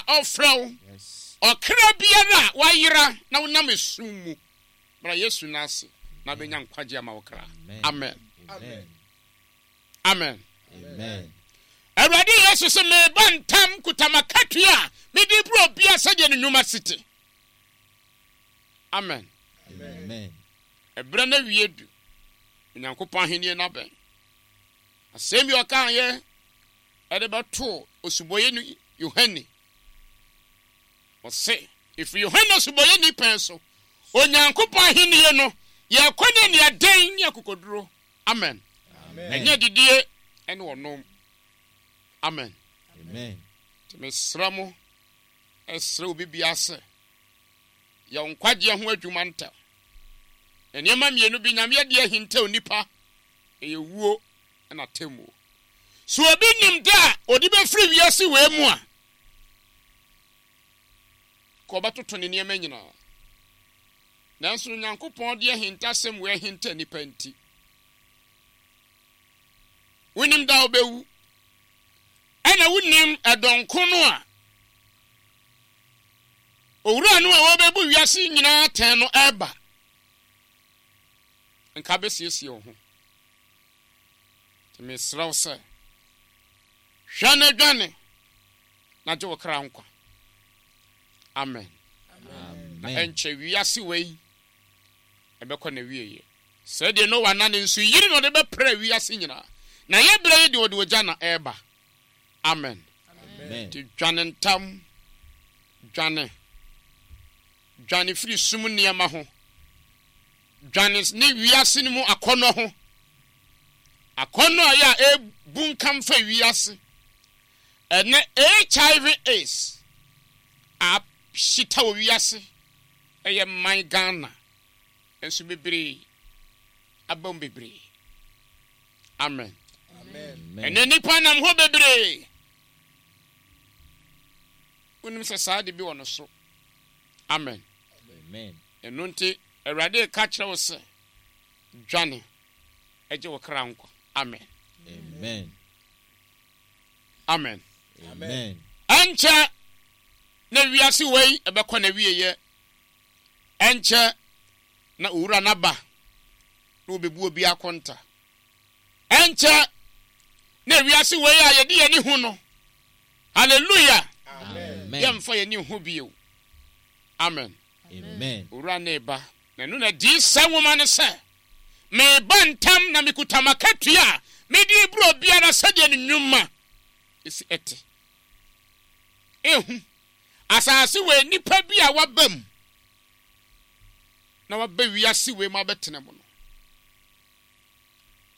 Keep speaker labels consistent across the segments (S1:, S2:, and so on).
S1: ɔfrɛ wo. Ɔkra biara a wayera na wonam esum mu, bra Yesu nan ase na bɛnya nkwagye ama wo kra. Amen. Amen. Awurade Yesu se, Meba ntam kuta m'akatua a mede brɛ obiara sɛdeɛ ne nnwuma si te. Amen. Ɛberɛ no awie du. Onyankopɔn ahennie no abɛn. Asɛm bi ɔkaeɛ ɛde bɛtoo osubɔyɛni Yohane. Ɔse, ɛfiri Yohane osubɔyɛni pɛn so, Onyankopɔn ahennie no, yɛkɔ ne aniɛden ne akokoduro. Amen. Ɛnyɛ adidie ne ɔnom. Amen. Nti mesrɛ mo, ɛsrɛ obi biara sɛ, yɛ wo nkwagyeɛ ho adwuma ntɛm. Nneɛma mmienu bi Nyame adi ahinta onipa, ɛyɛ wuo na atemmuo. So obi nim da a ɔde bɛfiri wiase wei mu a, ka ɔbɛtoto ne nneɛma nyinaa. Nanso Onyankopɔn de ahintasɛm wei ahinta nnipa nti, wonim da a wobɛwu, ɛna wonim ɛdɔn ko no a owura no a wɔbɛbu wiase nyinaa atɛn no ɛreba. Nka bɛsiesie wo ho. Nti mesrɛ wo sɛ, hwɛ na dwane na gye wo kra nkwa. Amen. Na ɛnkyɛ wiase wei ɛbɛkɔ n'awieeɛ. Sɛdeɛ Noa na ne nsu yiri na ɔde bɛprɛ wiase nyinaa. Na yɛ berɛ yi deɛ ɔde ogya na ɛreba. Amen. Nti dwane ntam, dwane. Dwane firi sum nneɛma ho. Dwane ne wiase no mu akɔnnɔ ho. Akɔnnɔ a ɛyɛ a ɛbunkam fa wiase. Ɛnnɛ HIV AIDS ahyeta wɔ wiase, ɛyɛ man Ghana nso bebree aba mu bebree. Amen. Ɛnnɛ nnipa nam hɔ bebree. Wonim sɛ saa de bi wɔ no so. Amen. Ɛno nti Awurade ka kyerɛ wo sɛ dwane ɛgye wo kra nkwa. Amen.
S2: Amen.
S1: Amen.
S2: Amen.
S1: Ɛnkyɛ na wiase wei ɛbɛkɔ n'awieɛ. Ɛnkyɛ na owura no aba na ɔbɛbu obi akonta. Ɛnkyɛ na wiase wei a yɛde yɛn ani hu no, hallelujah, yɛmfa yɛn ani nhu bio. Amen.
S2: Amen.
S1: Owura no reba. Na ɛno na Adiyisɛm nwoma no sɛ, Mereba ntɛm na mekuta m'akatua a mede rebrɛ obiara sɛdeɛ ne nnwuma si te. Ehu, asase wei nnipa bi a waba mu na waba wiase wei mu abɛtena mu no,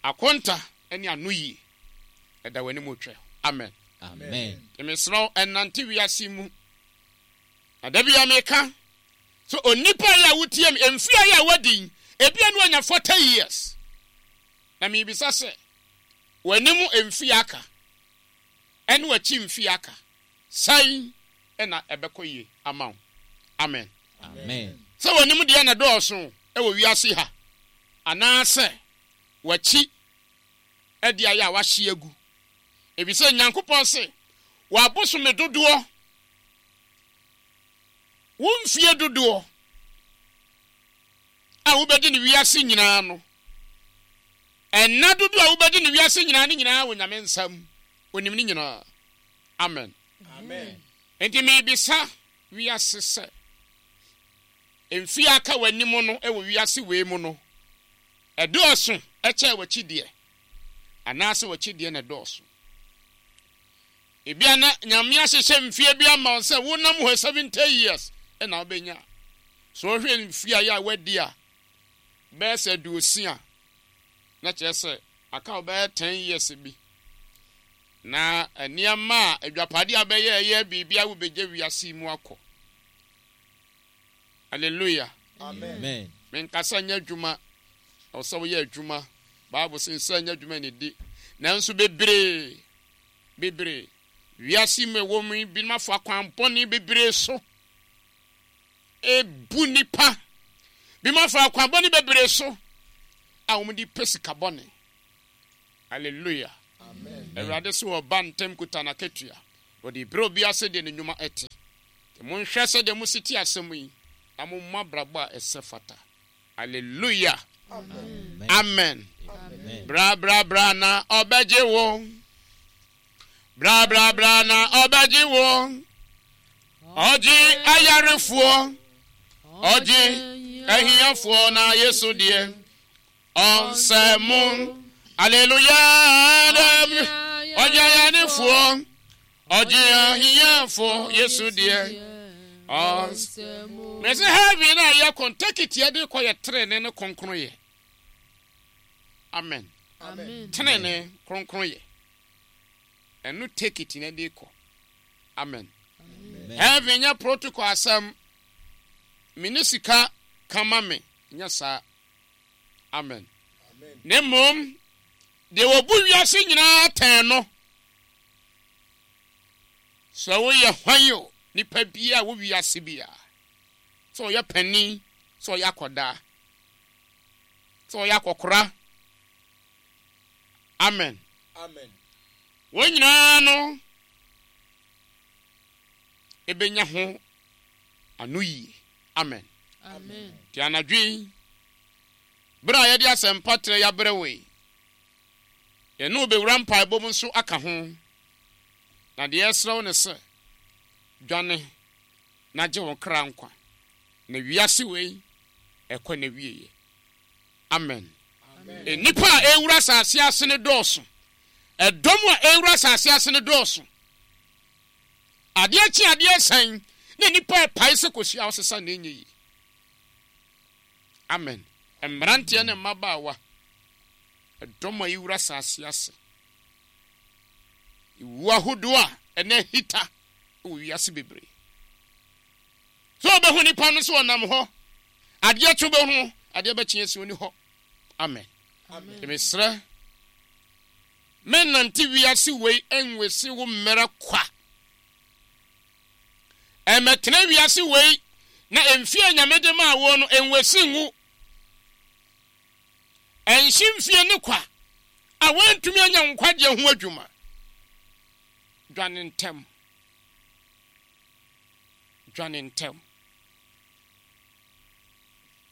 S1: akonta ne anoyie ɛda w'anim retwɛn. Amen.
S2: Amen.
S1: Mesrɛ wo, ɛnante wiase mu. Na da biara meka sɛ onipa yi a wotie me, mfe yi a wadi yi, ebia na wanya 40 years. Na mebisa sɛ, w'anim mfe aka ɛne w'akyi mfe aka, sɛn na ɛbɛkɔ yie ama wo? Amen.
S2: Amen.
S1: Sɛ w'anim deɛ na dɔɔso wɔ wiase ha, anaasɛ w'akyi ɛde ayɛ a wahye agu. Efisɛ Nyankopɔn se, w'abosome dodoɔ Wo mfeɛ dodoɔ a wobɛdi no wiase nyinaa no, nna dodoɔ a wobɛdi no wiase nyinaa no nyinaa wɔ Nyame nsam. Onim ne nyinaa. Amen.
S3: Amen.
S1: Enti mebisa wiase sɛ, mfeɛ a aka w'anim no wɔ wiase wei mu no, ɛdɔɔso kyɛn w'akyi deɛ, anaasɛ w'akyi deɛ na ɛdɔɔso? Ebia na Nyame ahyehyɛ mfeɛ bi ama wo sɛ wonam hɔ 70 years na wobɛnya. So wohwɛ mfeɛ a yɛ a woadi a, bɛyɛ sɛ aduosia, na kyerɛ sɛ aka wo bɛyɛ 10 years bi. Na nneɛma a adwapadeɛ a bɛyɛ ɛyɛ biribi a wobɛgya wiase mu akɔ. Hallelujah.
S2: Amen.
S1: Menkasa nyɛ adwuma, ɛwɔ sɛ woyɛ adwuma. Bible sɛ nsa nyɛ adwuma ne di. Nanso bebree bebree. Wiase mu ɛwɔ mu yi, binom afa akwan bɔne bebree so ebu nipa. Binom afa akwan bɔne bebree so a wɔde pɛ sika bɔne. Hallelujah. Awurade sɛ ɔba ntɛm kuta n'akatua. Wɔde brɛ obiara sɛdeɛ ne nnwuma te. Nti monhwɛ sɛdeɛ mosi te asɛm yi, na mommɔ abrabɔ a ɛsɛ fata. Hallelujah. Amen. Bra bra bra na ɔbɛgye wo. Bra bra bra na ɔbɛgye wo. Ɔgye ayarefoɔ. Ɔgye ahiafoɔ na Yesu deɛ. Ɔnsɛ mo. Hallelujah. Ɔgye ayarefoɔ. Ɔgye ahiafoɔ. Yesu deɛ. Ɔnsɛ mo. Mɛsɛ heaven a yɛkɔ ntakiti yɛde kɔ yɛ trenee ne kronkron yɛ. Amen. Tenene kronkron yɛ. Ɛno take it na de kɔ. Amen. Heaven nyɛ protocol asɛm. Me ne sika kama me nyɛ saa. Amen. Na mmom deɛ wɔbu wiase nyinaa tɛn no sɛ woyɛ hwan o nipa biara wɔ wiase biara sɛ ɔyɛ panin sɛ ɔyɛ akɔdaa sɛ ɔyɛ akɔkora amen wɔn nyinaa no ɛbɛnya ho ano yie amen nti anadwo yi berɛ a yɛde asɛmpa trɛ yɛabrɛ wei yɛne wobɛwura mpaebɔ mu nso aka ho na deɛ ɛserɛ wo ne sɛ dwane na gye wo kra nkwa na wiase wei ɛkɔ n'awieɛ. Amen. Nnipa a ɛrewura asase ase no dɔɔso. Ɛdɔm a ɛrewura asase ase no dɔɔso. Adeɛ kye adeɛ sɛn na nnipa ɛpae sɛ kosua ɔsesa na ɛnyɛ yie. Amen. Mmeranteɛ ne mmabaawa, ɛdɔm a ɛwura asase ase. Ewu ahodoɔ a ɛnɛ hita wɔ wiase bebree. Sɛ ɔbɛhu nipa no sɛ ɔnam hɔ, adeɛ kye wobɛhu, adeɛ bɛkye asi ɔni hɔ. Amen. Mesrɛ, mennante wiase wei nwesi wo mmerɛ kwa. Ɛmɛtena wiase wei na mfie nyame de maa wo no nwesi ngu. Ɛnhye mfie ne kwa a woantumi anya nkwagyeɛ ho adwuma. Dwane ntɛm. Dwane ntɛm.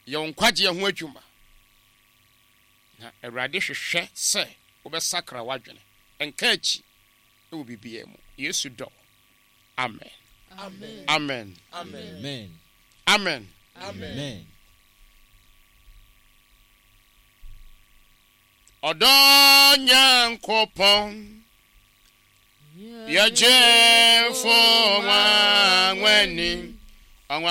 S1: Yɛ wo nkwagyeɛ ho adwuma. Na Awurade hwehwɛ sɛ wobɛsakra w'adwene. Nka akyi wɔ biribiara mu. Yesu dɔ wo. Amen. Amen.
S2: Amen.
S1: Amen.
S2: Amen.
S1: Ɔdɔ Nyankopɔn. Yɛgyefo nwanwani.